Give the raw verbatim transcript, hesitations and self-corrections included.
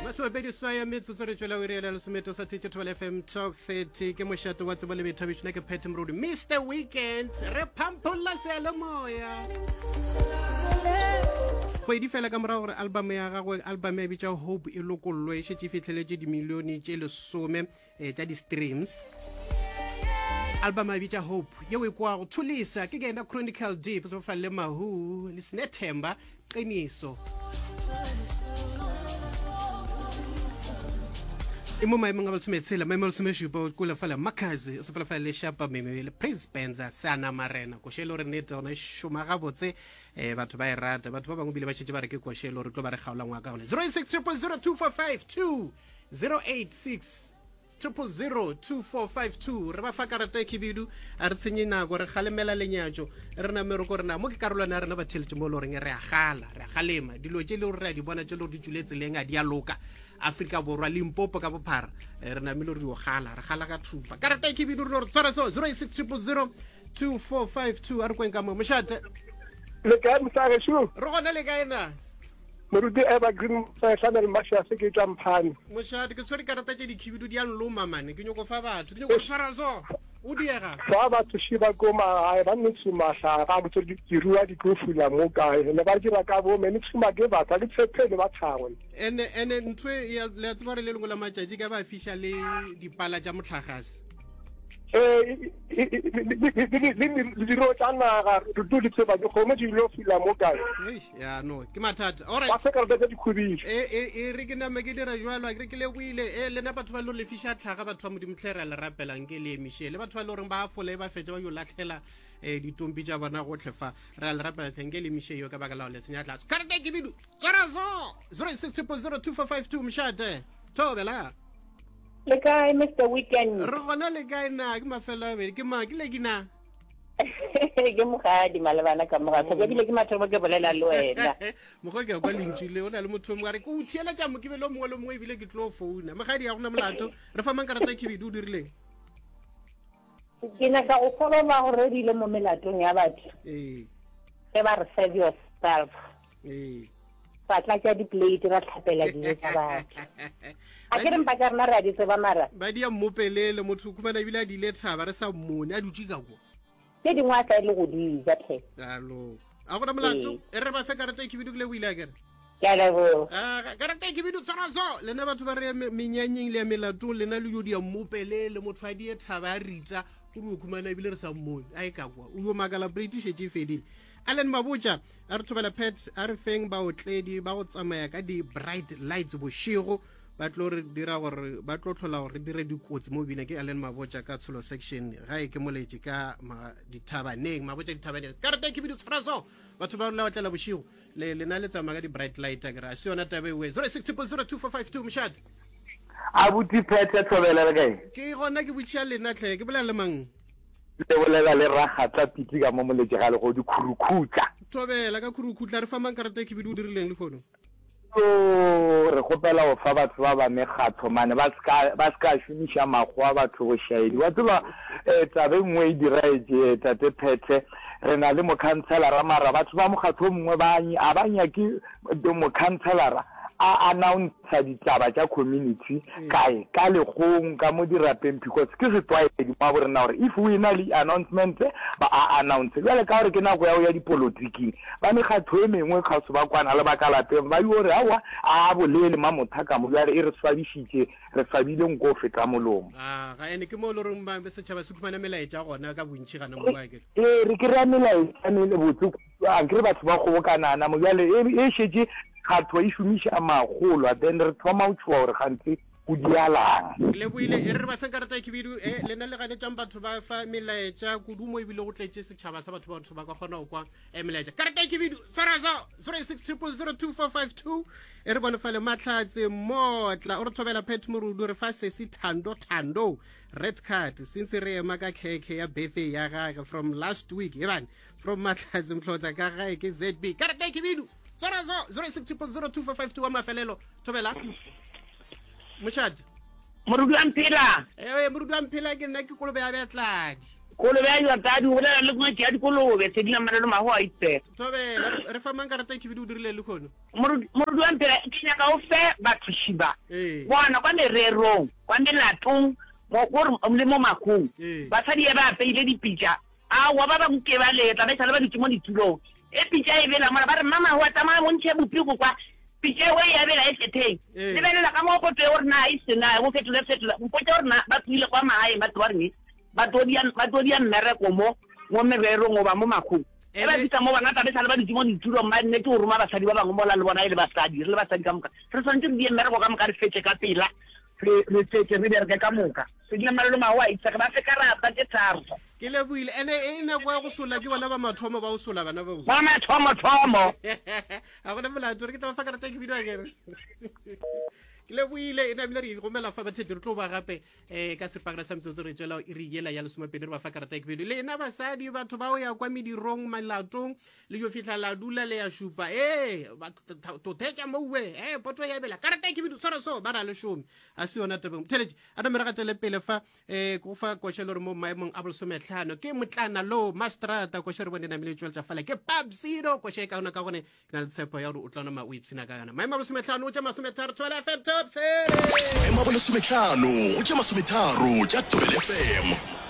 Masomepedi swaya metsotso re tšwela o iriela lesometo sa thetše Thobela F M Top thirty. Ke mošate wa tsebo le boithabišo. Nna ke Pat Morodu, Mister Weekend. Re phampholla seyalemoya. Kgwedi fela ka morago gore album ya gagwe, album ya bitša Hope, e lokollwe, e šetše e fihleletše dimilione tše lesome eh, tša di-streams. Album ya bitša Hope yeo e kwago Thulisa ke kena Chronicle Deep se fa le Mahu le Snethemba Qiniso. E mo maemong a lesometshela, maemo a lesomešupa o kula fela Makazi o sepela fela le Shapa Meme le Prince Benza Sana Marena. Koše e le gore nnete gona e šoma gabotse, eh, batho ba e rata. Batho ba bangwe bile ba šetše ba re ke koše e le gore tlo ba re kgaola ngwaka gone. zero eight six triple zero two four five two, zero eight six triple zero two four five two. Re ba fa karata e khibidu, a re tshenye nako, re kgalemela lenyatšo, re name re ko rena mo ke karolwana ya rena ba theletše mo e le goreng re a gala, re a galema dilo tše le gore re a di bona tše le gore di tšwile tseleng a di a loka. Afrika Borwa, Limpopo ka bophara, eh, re namile re dio gala, re gala ka thupa. Karata e khibidu re no re tshwara so zero eight six triple zero two four five two. A re kweng ka mo mošate. Le kae mosagešo? Re gona, le kae na? Moruti Evergreen Sahlanel Mashase ke tšwa Mphane. Mošate, ke tshwere karata tše dikhibidu di a nloma mane, ke nyoko fa batho, ke nyoko tshwara so. O diega. Fa batho shi ba ko magae ba nne tshuma hlaga, ke tsere ke rua di tlo fula mo kae. Ne ba dira ka bo me ne tshuma ke batho, ha ke tshepele ba thago. Ene ene ntho e ya le tseba re le lengwe la matšatši ka ba fiša le dipala tša motlagase. Eh, le diro tša naga, re tu di tseba dikgomo di lo fula mo kae. Eish, ya no, ke mathata. All right. Ba se ka re tsa dikhubišo. E, e, e re ke name ke dira jwalo, a ke re ke leboile. E, lena batho ba lo lefiša tlhaga, batho ba Modimo tlhe re a le rapelang ke le emiše. Le batho ba le goreng ba fola e ba fetša ba yo latlhela, eh, ditompi tša bona gotlhe fa. Re a le rapela tlhe, nke le emiše yo ka baka la go le senya tlatso. Karata e ke bidu. Tswara so. zero six triple zero two four five two, mošate. Thobela. Le kae, Mister Weekend? Re gona, le kae na? Ke mafelo a bedi. Ke ma, ke le ke na? Ke mogadi malebana ka moga. Ke bile ke mathomo ke bolela le wena. Mokgwa ke kwa lentšu le o na le motho o mongwe a re ke o theeletša mokibelo o mongwe le mongwe ebile ke tlo founa. Mogadi, ga gona molato. Re fa mang karata ya khibidu, o dirileng? Ke nyaka go fa ba ba go redile mo melatong ya batho. Ee. Ge ba re serve yourself. Ee. Ra tlatša di-plate, ra tlhapela dijo tša batho. A ke re mpa tša rena re a di tseba mara. Ba di a mmopelele, motho o khumana ebile a di ile thaba re sa mmone, a dutše ka kwa. Tše dingwe a sa le go di ja tlhe. Alo. A gona molato, e re ba fe karata e khibidu ke le o ile a kere. Ke a leboga. Ah, karata e khibidu tshwara so. Lena batho ba re me-, menyanyeng le ya melatong, lena le yo di a mmopelele, motho a di e thaba a ritsa, o re o khumana ebile re sa mmone. A e ka kwa. O yo makala plate e šetše e fedile. Allen Mabotja a re thobela Pat, a re feng baotledi ba go tsamaya ka di-bright lights bošego, ba tlo re dira gore, ba tlo tlhola gore re dire dikotsi mo bineng. Ke Allen Mabotja ka Tsholo section, ga e ke moletše ka ma-, dithabaneng, Mabotja dithabaneng. Karata e khibidu tshwara so. Batho ba la otlela bošego, le lena le tsamaya ka di-bright light, a ke re, a se yona taba e we. zero six triple zero two four five two, mošate. Abuti Pat, thobela le kae? Ke gona ke botšiša lena tlhe, ke bolela le mang? Le bolela le Ragatla Pitsi ka mo moletše ga legodi Khurukhutla. Thobela ka Khurukhutla, re fa mang karata e khibidu o dirileng lehono? Yo, re kgopela go fa batho ba ba mekgatlo mane ba ska, ba ska šomiša makgowa batho bošaedi. Wa tseba, eh, taba e nngwe e diraetše, eh, tate Phethe, re na le mokhanselara mara batho ba mokgatlo o mongwe ba ny-, a ba nyake mokhanselara a announce ditaba tša community Mm. kae, ka legong, ka mo dirapeng, because ke setlwaedi mo bo rena gore if o ena le announcement ba a announce. Bjale ka gore ke nako ya go ya dipolotiking, ba mekgatlo e mengwe kgauswi ba kwana le ba ka lapeng ba yo re aowa a bolele mamotha ka mo, bjale e re swabišitše, re swabile nko o feta molomo. Ah, ga ene ke mo e le goreng ba setšhaba se khumana melaetša gona ka bontši gana mo ba ke. Ee, re kry-a melaetša me botse, a nkere batho ba kgobokanana mo, bjale e, e šetše kgatho e šomiša magolo, then re thoma go tšhoga gore gantsi go dialang. Ke leboile, e re re ba feng karata e khibidu, e lena le ganetšang batho ba fa melaetša kudu mo ebile go tletše setšhaba sa batho ba batho ba ka kgona go kwa, e, melaetša. Karata e khibidu, tshwara so, zero six triple zero two four five two, e re bone fale Mahlatse Motla, o re thobela Pat Morudu, re fa sesi Thando Thando, red card, since re ema ka khekhe ya birthday ya gagwe from last week, ebane, from Mahlatse Mhlotla ka gae ke Z B. Karata e khibidu, tshwara so, zero six triple zero two four five two wa mafelelo, thobela. Mošate. Morudu wa Mphela. Eh, Morudu wa Mphela ke nna ke kolobe ya Betladi. Kolobe ya Jordane, o bolela le ngwetši ya dikolobe, Sedila Mmalelo Maho a itsega. Thobela, re- re fa mang karata e khibidu o dirile lehono? Moruti moruti wa Mphela, ke nyaka o fe batho ba. Ee. Bona kwa mererong, kwa melatong, mo gore le mo mahung. Ee. Basadi e ba apeile dipitša. Aowa ba bangwe ke ba letla ba e sale ba dutše mo ditulong. E pitša e bela mola ba re mama wa tsamaya o ntšhe bopiko kwa. Pitša eo e a bela e tletheng. Ee. Lebelela ka mo poto e gore na e se na, o fetole fetola. Mpotše gore na ba tsoile kwa magaeng ba tlo reng? Ba tlo dia ba tlo dia mmereko mo mo mererong goba mo mahung. E ba Ene- fihla mo bona tla be sale ba dutše mo ditulong ba nnete go roma basadi ba bangwe mola le bona e le basadi, re le basadi ka moka. Re swanetše re die mmereko ka moka re fetše ka pela. Re re fetše re bereke ka moka. Sedila Mmalelo Maho a itsege ba fe karata tše tharo. Ke lebohile. Ene e nako ya go sola ke bona ba mathomo ba o sola bana ba. Ba mathomo-thomo. Ga gona molato, re ke tla ba fa karata e khibidu akere. Ke lebohile, e namile re gomela fa bathete re tlo ba gape um ka seripagare sa metsotso re tswela iri yela ya lesomepedi re ba fa karata e khibidu. Lena basadi batho ba o ya kwa medirong melatong le yo fihla la dula le ya šupa ee to thetša moue ee poto ya bela karata e khibidu tshwara so ba ra lešome a se yona tabeng theletše a name re gatele pele fa um ko fa koša le gore mo maemong a bolesometlhano ke motlana lo mastrata koša re bone namile e tšweletša fala ke papsido koša e kaona ka gone ke na le tshepo ya gore o tla nama o ipshina ka yona maemo a bolesometlhano o tša masometharo Thobela F M top thirty. Maemo a bolesometlhano go tše masometharo tša Thobela F M.